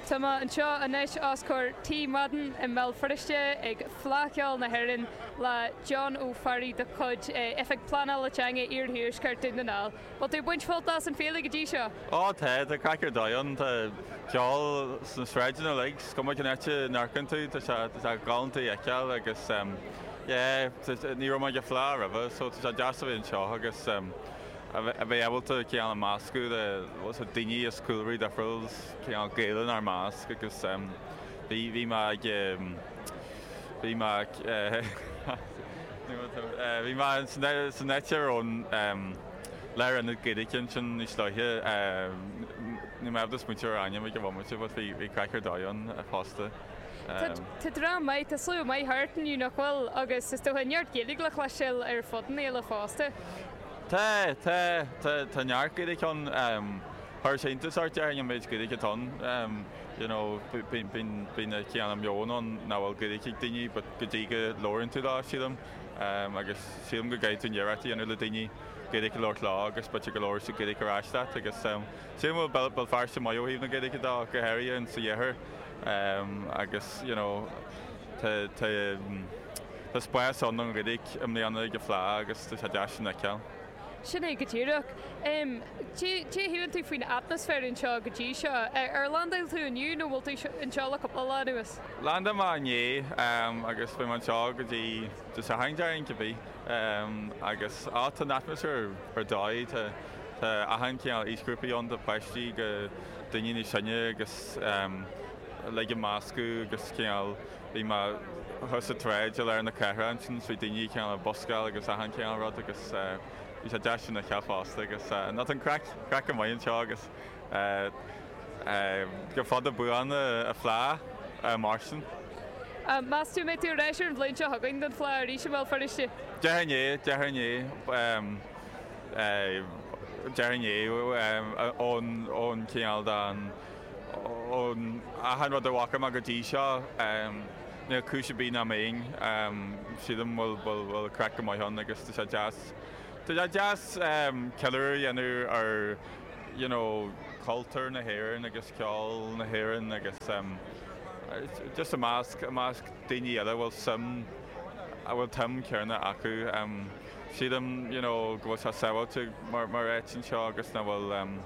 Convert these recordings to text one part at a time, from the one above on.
Tá mé anseo anois os comhair Tigh Madden i mBéal Feirste ag Fleadh Cheoil na hÉireann le John Ó Fearraigh de chuid Oifig Pleanála Teanga Iarthuaisceart Dún na nGall. Bhfuil tú ag baint sult as an féile go dtí seo? Ó tá, tá craic ar dóigh ann. Tá ceol sna sráideanna uilig, is cuma cén áit a n-amharcann tú, tá sé, tá sé galánta a fheiceáil agus yeah, ní raibh mé ag an Fleadh roimhe so tá sé deas a bheith anseo agus a bheith ábalta cineál meascadh le daoine as cúlraí difriúil, cineál Gaeil inár measc agus bhí, bhí mé ag, bhí mé ag, bhí mé san áit a raibh an lárionad Gaeilge ansin níos luaithe, níl mé ábalta smaointiú ar a ainm ag an bhomaite but bhí, bhí craic ar dóigh ann fosta. Tá dream maith, tá slua maith thart inniu nach bhfuil agus is dócha neart Gaeilge le cloisteáil ar fud an fhéile fosta. Tá, tá, tá, tá neart Gaeilge ann. Chuir sé iontas ort, déarfainn, an méid Gaeilge atá ann. You know, bíonn, bíonn an cineál meon ann nach bhfuil Gaeilge ag daoine but go dtí go labhrann tú leo, sílim. Agus sílim go gcaithfidh tú an iarracht a dhéanamh le daoine Gaeilge a labhairt leo agus b'fhéidir go labhróidh siad Gaeilge ar ais leat agus sílim go bhfuil Béal Feirste maith ó thaobh na Gaeilge de, go háirithe in sa iarthar. Agus, you know, tá, tá, tá spás ann don Ghaeilge i mbliana ag an Fleadh agus tá sé deas sin a fheiceáil. Sin é go díreach. Cé a shíleann tú faoin atmaisféar anseo go dtí seo? Ar landáil tú inniu nó bhfuil tú anseo le cúpla lá anuas? Landáil mé inné agus beidh mé anseo go dtí Dé Sathairn déarfainn, cibé. Agus, á, tá an atmaisféar ar dóigh, tá, tá achan cineál aoisghrúpaí ann, tá páistí go daoine níos sine agus uilig ag meascadh agus cineál, bhí mé thuas sa tsráid i lár na cathrach ansin is bhí daoine cineál ag buscáil agus achan cineál rud agus bhí sé deas sin a fheiceáil fosta agus ná tá an craic, craic go maith anseo agus go fada buan an Fleadh mar sin. Meas tú an mbeidh tú ar ais ar an bhliain seo chugainn don Fleadh arís i mBéal Feirste? Déarfainn é, déarfainn é. Déarfainn é ón cineál den, ón achan rud a bhfaca mé go dtí seo, níl cúis ar bith nach mbeinn. Sílim bhfuil, bhfuil, bhfuil craic go maith ann agus tá sé deas, tá sé deas ceiliúradh a dhéanamh ar you know cultúr na hÉireann agus ceol na hÉireann agus just i measc, i measc daoine eile a bhfuil suim, a bhfuil suim céanna acu. Sílim you know go bhfuil sé sábháilte mar mar áit anseo agus nach bhfuil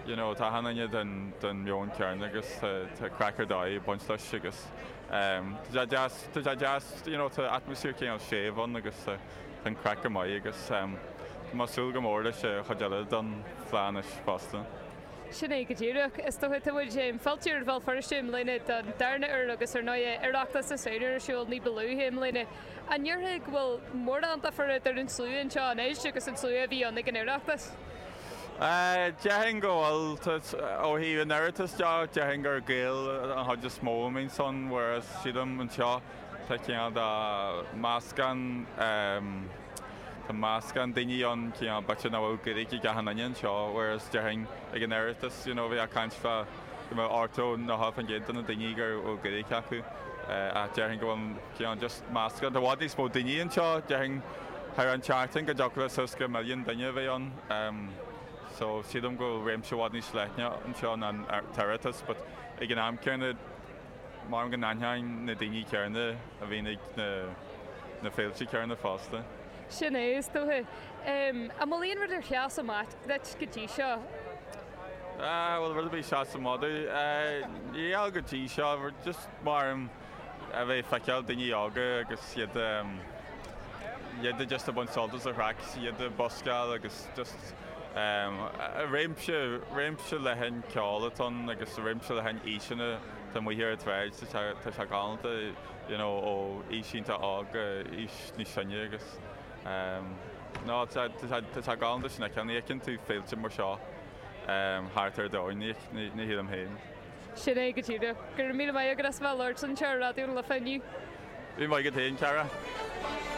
you know tá achan duine den den meon céanna agus tá tá craic ar dóigh ag baint leis agus tá sé deas tá sé deas you know tá atmaisféar cineál séimh ann agus tá an craic go maith agus tá mé ag súil go mór leis an chuid eile den Fleadh anois fosta. Sin é go díreach. Is dócha tá muid fillte ar Bhéal Feirste i mbliana don darna huair agus ar ndóighe Oireachtas na Samhna ar siúl ní ba luaithe i mbliana. An ndéarfá go bhfuil mórán difear idir an slua anseo anois agus an slua a bhí ann ag an Oireachtas? Déarfainn go bhfuil. Ó thaobh an Oireachtais de, déarfainn gur Gaeil an chuid is mó a bhíonns ann, whereas sílim anseo tá cineál de meascán, tá meascán daoine ann, cineál b'fhéidir nach bhfuil Gaeilge ag achan duine anseo, whereas déarfainn ag an Oireachtas, you know, bhí caint fá go mbeadh 80, 90% de na daoine go bhfuil Gaeilge acu, ach déarfainn go bhfuil cineál just meascán. Tá i bhfad níos mó daoine anseo, déarfainn thar an tseachtain go dtiocfadh le suas go milliún duine a bheith ann. So sílim go bhfuil réimse i bhfad níos leithne anseo ná an tOireachtas but ag an am céanna maram go n-aithneoinn na daoine céanna a bhíonn ag na na féilte céanna fosta. Sin é, is dócha. An bhfuil aon rud ar sheas amach duit go dtí seo? Bhfuil rud ar bith sheas amach domh? Níl go dtí seo, just maram a bheith ag feiceáil daoine óga agus iad iad just ag baint sult as an chraic, iad ag buscáil agus just réimse, réimse leathan ceoil atá ann agus réimse leathan aoiseanna atá amuigh ar an tsráid, tá sé, tá sé galánta you know ó aois iontach óg go aois níos sine agus no tá sé, tá sé galánta sin a fheiceáil, ní fheiceann tú féilte mar seo thart ar domhan, ní, ní shílim féin. Sin é go díreach. Go raibh míle maith agat as a bheith ag labhairt linn anseo ar Raidió na Life inniu. Míle maith agat féin, Cara.